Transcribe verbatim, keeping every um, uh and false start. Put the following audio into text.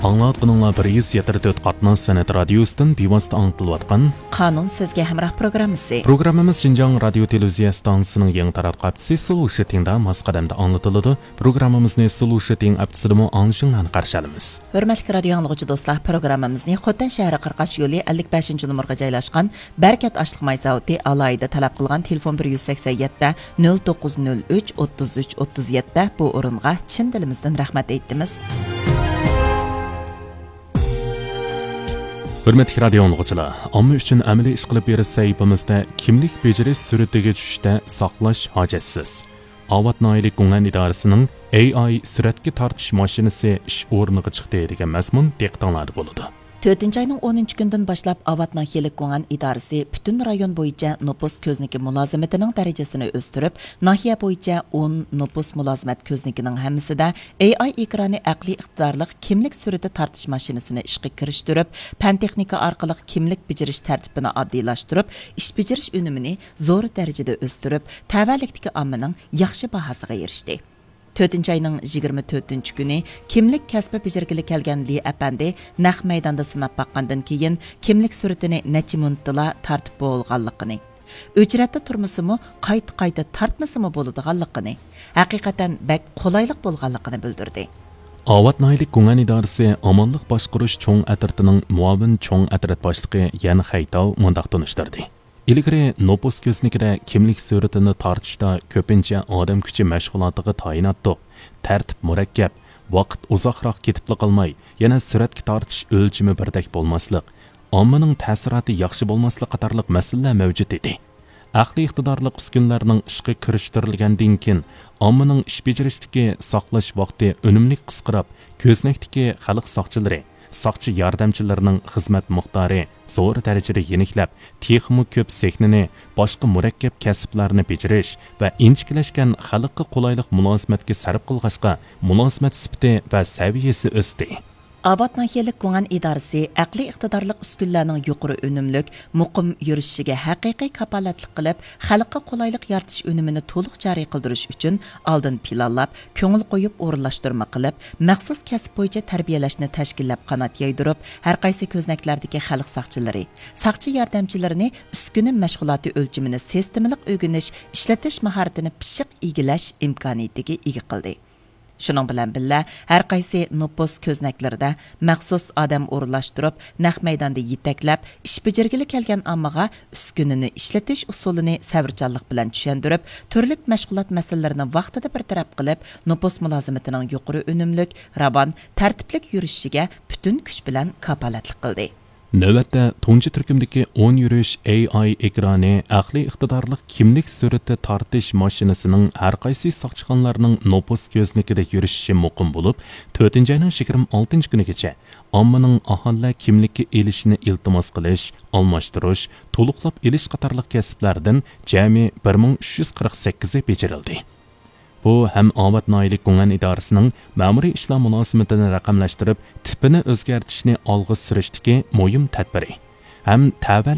ئاڭلاۋاتقىنىڭلار بىر يۈز يەتتە تۆت قاتناش سەنئەت رادىيوسىدىن بىۋاسىتە ئاڭلىتىلىۋاتقان قانۇن سىزگە ھەمراھ پروگراممىسى. پروگراممىمىز شىنجاڭ رادىيو تېلېۋىزىيە ئىستانسىسىنىڭ يېڭى تاراتقۇ ھەپتىسى سلۇشىتىڭدا ماس قەدەمدە ئاڭلىتىلىدۇ. پروگراممىمىزنى سلۇشىتىڭ ئەپتىسىدىمۇ ئاڭلىشىڭلارنى قارشى ئالىمىز. ھۆرمەتلىك رادىيو ئاڭلىغۇچى دوستلار، پروگراممىمىزنى خوتەن شەھىرى قىرقاش يولى ئەللىك بەشىنچى نومۇرغا جايلاشقان بەرىكەت ئاشلىق ماي زاۋۇتى ئالاھىدە تەلەپ قىلغان تېلېفون بىر يۈز سەكسەن يەتتە، نۆل توققۇز نۆل ئۈچ، ئوتتۇز ئۈچ، ئوتتۇز يەتتە بۇ ئورۇنغا چىن دىلىمىزدىن رەھمەت ئېيتىمىز. ھۆرمەتلىك رادىيو ئاڭلىغۇچىلار، ئامما ئۈچۈن ئەمەلىي ئىش قىلىپ بېرىش سەھىپىمىزدە كىملىك بېجىرىش سۈرئىتىگە چۈشۈشتە ساقلاش ھاجەتسىز. ئاۋات ناھىيەلىك گۇڭئەن ئىدارىسىنىڭ ئېي ئاي سۈرەتكە تارتىش ماشىنىسى ئىش ئورنىغا چىقتى دېگەن مەزمۇن دىققىتىڭلاردا بولىدۇ. تۆتىنچى ئاينىڭ ئونىنچى كۈنىدىن باشلاپ ئاۋات ناھىيەلىك گۇڭئەن ئىدارىسى پۈتۈن رايون بويىچە نوپۇس كۆزنىكى مۇلازىمىتىنىڭ دەرىجىسىنى ئۆستۈرۈپ، ناھىيە بويىچە ئون نوپۇس مۇلازىمەت كۆزنىكىنىڭ ھەممىسىدە ئېي ئاي ئېكرانى ئەقلىي ئىقتىدارلىق كىملىك سۈرىتى تارتىش ماشىنىسىنى ئىشقا كىرىشتۈرۈپ، پەن تېخنىكا ئارقىلىق كىملىك بېجىرىش تەرتىپىنى ئاددىيلاشتۇرۇپ، ئىش بېجىرىش ئۈنۈمىنى زور دەرىجىدە ئۆستۈرۈپ، تەۋەلىكتىكى ئاممىنىڭ ياخشى باھاسىغا ئېرىشتى. تۆتىنچى ئاينىڭ يىگىرمە تۆتىنچى كۈنى كىملىك كەسپى بېجىرگىلى كەلگەن لى ئەپەندى نەق مەيداندا سىناپ باققاندىن كېيىن، كىملىك سۈرىتىنى نەچچە مىنۇتتىلا تارتىپ بولغانلىقىنى، ئۆچرەتتە تۇرمىسىمۇ، قايتا-قايتا تارتمىسىمۇ بولىدىغانلىقىنى، ھەقىقەتەن بەك قولايلىق بولغانلىقىنى بىلدۈردى. ئاۋات ناھىيەلىك گۇڭئەن ئىدارىسى ئامانلىق باشقۇرۇش چوڭ ئەترىتىنىڭ مۇئاۋىن چوڭ ئەترىت باشلىقى يەن خەيتاۋ مۇنداق تونۇشتۇردى. ئىلگىرى نوپۇس كۆزنىكىدە كىملىك سۈرىتىنى تارتىشتا كۆپىنچە ئادەم كۈچى مەشغۇلاتىغا تايىناتتۇق. تەرتىپ مۇرەككەپ، ۋاقىت ئۇزاقراق كېتىپلا قالماي، يەنە سۈرەتكە تارتىش ئۆلچىمى بىردەك بولماسلىق، ئاممىنىڭ تەسىراتى ياخشى بولماسلىق قاتارلىق مەسىلىلەر مەۋجۇت ئىدى. ئەقلىي ئىقتىدارلىق ئۈسكۈنىلەرنىڭ ئىشقا كىرىشتۈرۈلگەندىن كېيىن، ئاممىنىڭ ئىش بېجىرىشتىكى ساقلاش ۋاقتى ئۈنۈملۈك قىسقىراپ، كۆزنەكتىكى خەلق ساقچىلىرى، ساقچى ياردەمچىلىرىنىڭ خىزمەت مىقدارى زور دەرىجىدە يېنىكلەپ، تېخىمۇ كۆپ سېھنىنى، باشقا مۇرەككەپ كەسىپلەرنى بېجىرىش ۋە ئىنچىكىلەشكەن خەلققە قولايلىق مۇلازىمەتكە سەرپ قىلغاچقا، مۇلازىمەت سۈپىتى ۋە سەۋىيەسى ئۆستى. ئاۋات ناھىيەلىك گۇڭئەن ئىدارىسى ئەقلىي ئىقتىدارلىق ئۈسكۈنىلەرنىڭ يۇقىرى ئۈنۈملۈك، مۇقىم يۈرۈشۈشىگە ھەقىقىي كاپالەتلىك قىلىپ، خەلققە قولايلىق يارىتىش ئۈنۈمىنى تولۇق جارى قىلدۇرۇش ئۈچۈن ئالدىن پىلانلاپ، كۆڭۈل قويۇپ ئورۇنلاشتۇرما قىلىپ، مەخسۇس كەسىپ بويىچە تەربىيەلەشنى تەشكىللەپ قانات يايدۇرۇپ، ھەرقايسى كۆزنەكلەردىكى خەلق ساقچىلىرى، ساقچى ياردەمچىلىرىنى ئۈسكۈنە مەشغۇلاتى ئۆلچىمىنى سىستېمىلىق ئۆگىنىش، ئىشلىتىش ماھارىتىنى پىششىق ئىگىلەش ئىمكانىيىتىگە ئىگە قىلدى. شۇنىڭ بىلەن بىللە، ھەرقايسى نوپۇس كۆزنەكلىرىدە مەخسۇس ئادەم ئورۇنلاشتۇرۇپ، نەق مەيداندا يېتەكلەپ، ئىش بېجىرگىلى كەلگەن ئاممىغا ئۈسكۈنىنى ئىشلىتىش ئۇسۇلىنى سەۋرچانلىق بىلەن چۈشەندۈرۈپ، تۈرلۈك مەشغۇلات مەسىلىلىرىنى ۋاقتىدا بىر تەرەپ قىلىپ، نوپۇس مۇلازىمىتىنىڭ يۇقىرى ئۈنۈملۈك، راۋان، تەرتىپلىك يۈرۈشۈشىگە پۈتۈن كۈچ بىلەن كاپالەتلىك قىلدى. نۆۋەتتە، تۇنجى تۈركۈمدىكى ئون يۈرۈش ئېي ئاي ئېكرانى ئەقلىي ئىقتىدارلىق كىملىك سۈرىتى تارتىش ماشىنىسىنىڭ ھەرقايسى ساقچىخانىلارنىڭ نوپۇس كۆزنىكىدە يۈرۈشۈشى مۇقىم بولۇپ، تۆتىنچى ئاينىڭ يىگىرمە ئالتىنچى كۈنىگىچە ئاممىنىڭ ئاھالىلەر كىملىككە ئېلىشىنى ئىلتىماس قىلىش، ئالماشتۇرۇش، تولۇقلاپ ئېلىش قاتارلىق كەسىپلەردىن جەمئىي بىر مىڭ ئۈچ يۈز قىرىق سەككىزى بېجىرىلدى. بۇ ھەم ئاۋات ناھىيەلىك گۇڭئەن ئىدارىسىنىڭ مەمۇرىي ئىشلار مۇلازىمىتىنى رەقەملەشتۈرۈپ، تىپىنى ئۆزگەرتىشنى ئالغا سۈرۈشتىكى مۇھىم تەدبىرى، ھەم تەۋەلىك